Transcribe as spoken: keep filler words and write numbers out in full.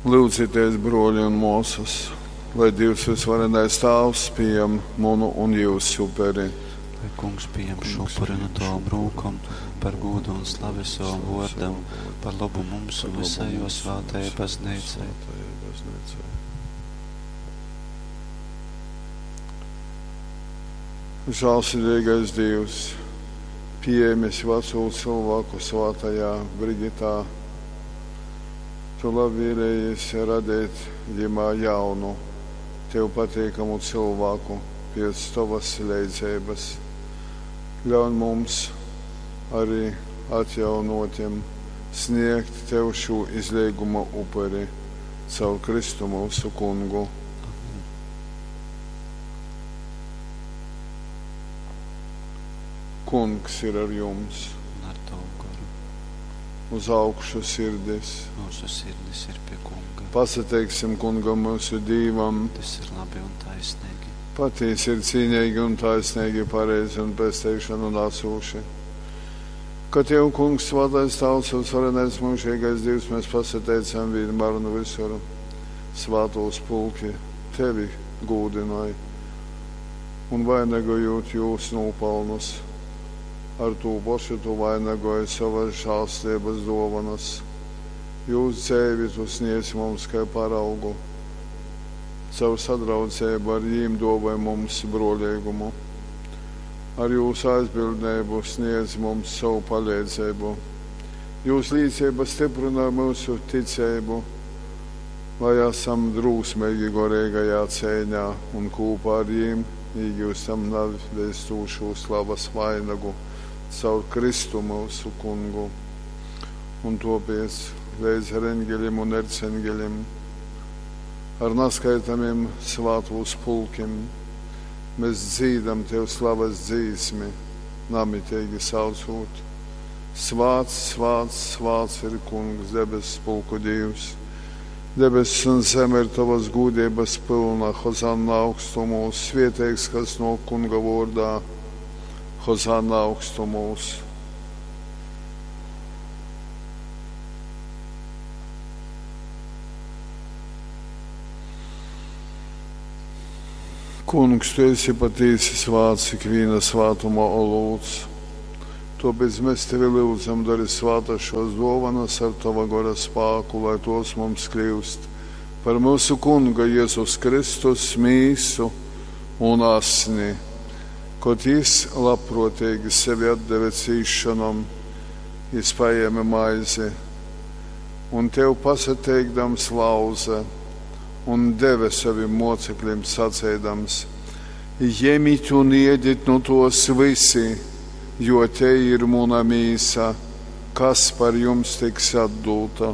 Lyudzitēs, brōli un mōsas, lai Dīvs vysvarenais Tāvs pījam munu un jyusu uperi. Lai Kungs pījam šū upuri nu tovom rūkom par gūdu un slavi sovam vōrdam, par lobu mums un vysai jō svātajai Bazneicai. Žālsirdīgais Dīvs, pījēmis vacū cylvāku svātajā Brigitā, Tu labvēlējies radeit jimā jaunu, Tev pateikamu cylvāku pēc Tovas leidzeibas. Ļauņ mums arī atjaunōtim snēgt Tev šū izleiguma uperi caur Kristu myusu Kungu. Amen. Kungs ir ar jums. Un ar tavu goru. Uz augšu sirdis. Mūsu sirdis ir pie Kunga. Pasateiksim Kungam myusu Dīvam. Tas ir labi un taisnīgi. Patiesi ir cīnīgi un taisnīgi, pareizi un pesteišanu nācoši. Ka Tev, Kungs, svētais Tavs un varenais mūžīgais Dievs, mēs pasateicam vienmēr un visur. Svātūs pulki Tevi gūdināja un vainagojot jūs nopelnus. Ar tū pašu Tu vainagoji savas žēlstības dovanas. Jūs dzēvi Tu sniedz mums kā paraugu. Caur sadraudzību ar jīm dāvāj mums brolīgumu. Ar jūsu aizbildnību sniedz mums savu palīdzību. Jūsu līdzība stiprina mūsu ticību, lai esam drūsmīgi gorīgajā cīņā un kopā ar jīm iegūstam nevēstūšu slavas vainagu caur Kristu mūsu Kungu. Un topiec līdz ar eņģeļiem un erceņģeļiem, ar neskaitāmiem svātūs pulkiem, mēs dzīdam Tev slavas dzīsmi, namitīgi saucot. Svāts, svāts, svāts ir Kungs, debesu pulku Dievs. Debesis un zeme ir Tavas gūdības pilna, Hozanna augstumos, svieteigs, kas no Kunga vārdā, Hozanna augstumos. Kungs, Tu esi patiesi svāts, ikviena svātuma olūts. Tāpēc mēs Tevi lūdzam, dari svātas šos dovanas ar Tava gora spāku, lai tos mums kļūst par mūsu Kunga Jēzus Kristus mīsu un asni. Kad jis labprātīgi sevi atdeve cīšanom, jis paēma maizi un Tev pasateikdams lauze un deve saviem mocekļiem sacēdams: Ņemiet un ēdiet no tos visi, jo te ir muna mīsa, kas par jums tiks atdota.